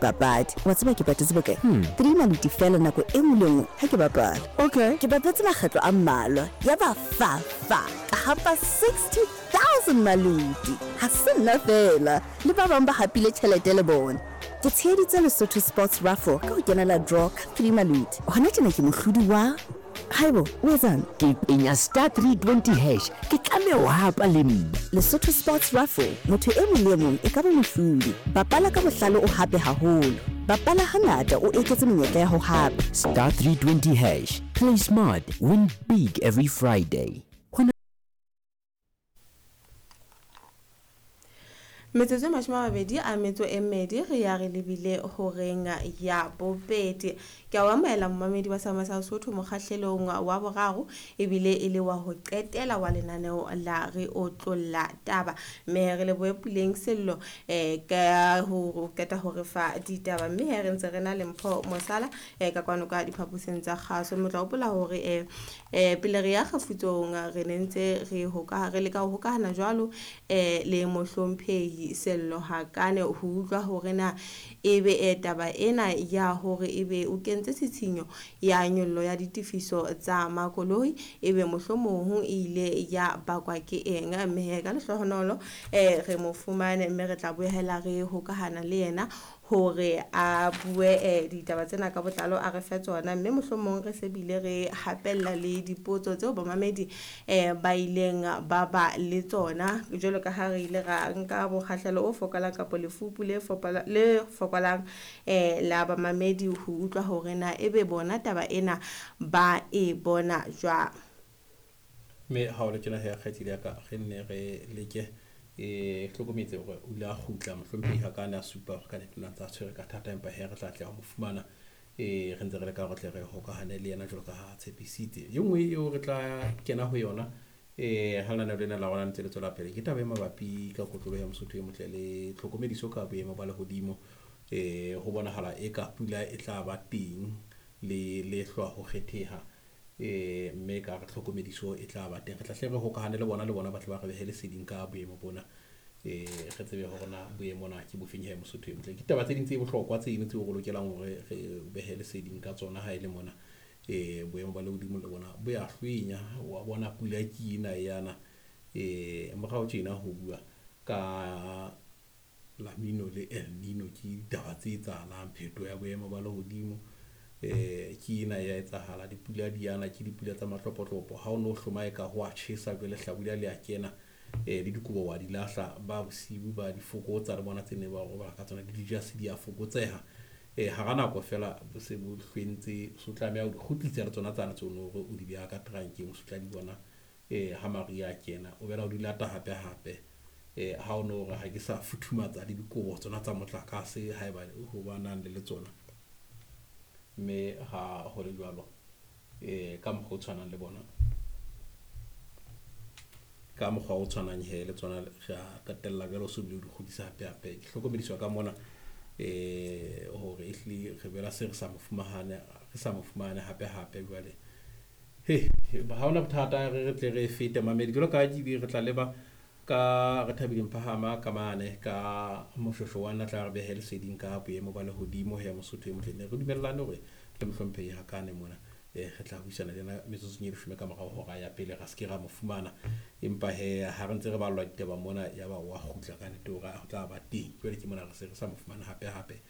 dipapadi. Wa tseba ke patetse bokae? 3 maluti feela nako e nngwe le nngwe ha ke bapala. Okay. Ke bapetse makgetlo a mmalwa, ya ba fa fa ka hapa 60,000 maluti. Ha se nna feela, le ba bang ba hapile tjhelete le bona. Ke tsheheditse Lesotho Sports Raffle ka ho kenela draw ka 3 maluti. Hona tjena ke mohlodi wa. Haibo, o etsang? Ke penya *320#, ke tlameha ho hapa le nna. Lesotho Sports Raffle, motho e mong le e mong e ka ba mohlodi. Bapala ka bohlale, o hape haholo. Bapala hangata, o eketse menyetla ya ho hapa. *320#. Play smart, win big every Friday. Hona Metsotso e 22 re ya re lebile horeng ya bobedi. Ke a o amohela, momamedi wa Sama sa Sotho, mokgahlelong wa boraro ebile e le wa ho qetela wa lenaneo la Re Otlolla Taba, mme re lebohe Puleng Sello ka ho qeta ho re fa ditaba, mme he re ntse re na le Mpho Mosala ka kwano ka diphaposing tsa kgaso. Mme o tla hopola hore pele re ya kgefutsong re ne ntse re hoka re leka ho hokahana jwalo le mohlomphehi Sello Hakane ho utlwa hore na ebe taba ena ya hore ebe o kentse tshitshinyo ya nyollo ya ditefiso tsa makoloi ebe mohlomong e ile ya bakwa ke eng. Mme he ka lehlohonolo re mo fumane, mme re tla boela re hokahana le yena hore a bue ditaba tsena ka botlalo, a re fe tsona, mme mohlomong re se bile re hapella le dipotso tseo bamamedi ba ileng ba ba le tsona, jwalo ka ha re ile ra nka mokgahlelo o fokolang kapa lefupu le fokolang la bamamedi ho utlwa hore na ebe bona taba ena ba e bona jwang. Mme ha o le tjena he, kgaitsedi ya ka, re nne re leke hlokometse hore o ile a kgutla mohlomphehi ha ka ne a supa hore ka nnete o ntse a tshwere ka thata, empa he re tla tla ho mo fumana. Re ntse re leka hore tle re hokahane le yena jwalo ka ha tshepisitse. E nngwe eo re tla kena ho yona ha lenaneo lena la rona ntse le tswela pele ke taba e mabapi ka kotlolo ya Mosotho e motle le tlhokomediso ka boemo ba lehodimo. Ho bonahala eka pula e tla ba teng le lehlwa ho kgetheha, mme ka re tlhokomediso e tla ba teng. Re tla hle re hokahane le bona ba tle ba re behe leseding ka boemo bona, re tsebe hore na boemo na ke bofeng he, Mosotho e motle. Ke taba tse ding tse bohlokwa tseno tseo re lokelang hore re behe leseding ka tsona. Ha e le mona boemo ba lehodimo le bona bo ya hlwenya, wa bona pula ke ena yana morao tjena ho bua ka La Nino le El Nino, ke ditaba tse etsahalang. Phetoho ya boemo ba lehodimo ke ena ya etsahala, dipula di yana, ke dipula tsa matlopotlopo. Ha o no hloma eka ho a tjhesa, jwale hlabula le a kena, le dikobo wa di lahla, ba bosiu ba di fokotsa le bona tse ne ba robala ka tsona, le dijase di a fokotseha. Hara nako fela bo se bo hlwentse, so tlameha ho di kgutlisa le tsona tsane tseo no hore o di beha ka trankeng, o se tla di bona ha mariha a kena, o bela o di lata hape hape. Ha o no hore ha ke sa futhumatsa le dikobo tsona tsa motlakase haeba ho ba nang le tsona, mme ha ho le jwalo ka mokgwa o tshwanang le bona, ka mokgwa o tshwanang he le tsona re a qetella jwale o so bile o di kgutlisa hape hape. Ke hlokomediswa ka mona hore ehlile re bela se re sa mo fumane, re sa mo fumane hape hape jwale. He, ha hona bothata, re tle re fete mamedi jwalo ka ke re tla leba ka re Thabileng Phahama ka mane ka moshosho wa nna tla re behe leseding ka boemo ba lehodimo he, Mosotho e motle. Ne re dumellane hore le mohlomphehi Hakane mona re tla buisana le yena metsotsong e 10 ka morao hora ya pele, ra se ke ra mo fumana, empa he ha re ntse re ballwa ditaba mona ya ba wa kgutla ka nnete hore ho tla ba teng. Jwale ke mona re se re sa mo fumana hape hape,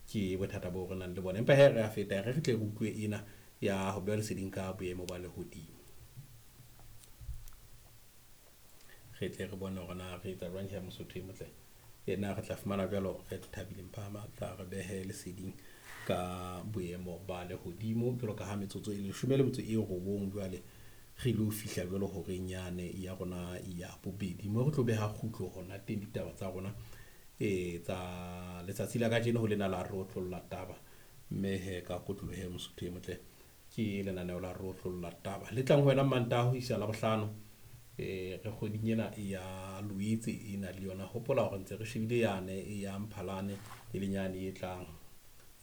ke bothata bo re nang le bona, empa he re a feta, re tle re utlwe ena ya ho beha leseding ka boemo ba lehodimo, re tle re bone hore na re etsa jwang he, Mosotho e motle. Ena re tla fumana jwalo re Thabileng Phahama tla re behe leseding ka boemo ba lehodimo jwalo ka ha metsotso e 19 jwale re ilo fihla jwalo horeng yane ya rona ya bobedi, mo re tlo beha kgutlo hona teng ditaba tsa rona tsa letsatsi la kajeno ho lena la Re Otlolla Taba. Mme he ka kotlolo he, Mosotho e motle, ke lenaneo la Re Otlolla Taba le tlang ho wena Mantaha ho isa Labohlano. Re kgweding ena ya Loetse ena le yona, hopola hore ntse re shebile yane ya Mphalane, e leng yane e tlang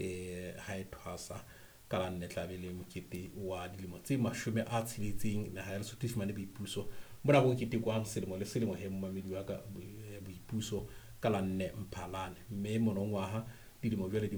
ha e thwasa ka la 4, tla be le mokete wa dilemo tse 60 naha ya Lesotho e fumane boipuso. Mona bo ketekwang selemo le selemo he, momamedi wa ka, boipuso ka la 4 Mphalane, mme monongwaha dilemo jwale di